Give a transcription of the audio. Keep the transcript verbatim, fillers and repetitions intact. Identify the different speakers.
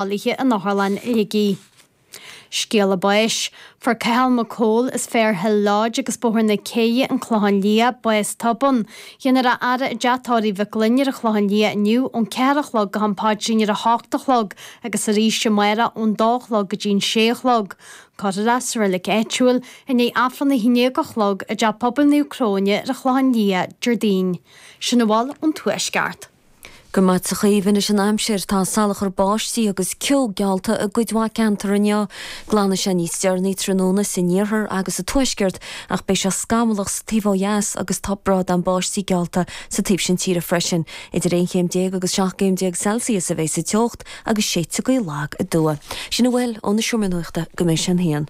Speaker 1: Bailithe in Otharlann Shligigh. Scéala báis. Fuair Cathal Mac Cóil as Fairhill Lodge agus Bóthar na Céidhe, An Clochán Liath, bás tobann. Dhéanfar a fhaire i dteach tórraimh Mhic Gloinn ar an Chlochán Liath inniu ón ceathair a chlog go ham paidrín ar a hocht a chlog agus arís amárach ón dó a chlog go dtí an sé a chlog. Cuirfear é sa reilig áitiúil i ndiaidh Aifreann a haon déag a chlog i dTeach Pobail Naomh Cróine ar an Chlochán Liath, Déardaoin. Sin a bhfuil ón Tuaisceart.
Speaker 2: Go raibh maith agat a Chaoimhe. Anois an aimsir. Tá salachar báistí agus ceo geallta i gcuid mhaith ceantar inniu. Glanfaidh sé níos deireanaí tráthnóna san iarthar agus sa tuaisceart ach beidh sé scamallach sa taobh ó dheas agus tá brádán báistí geallta sa taobh sin tíre freisin. Idir aon chéim déag agus seacht gcéim déag Celsius a bheidh sa teocht agus séidfidh gaoth lag aduaidh. Sin a bhfuil ón Seomra Nuachta go mbeidh sé an haon.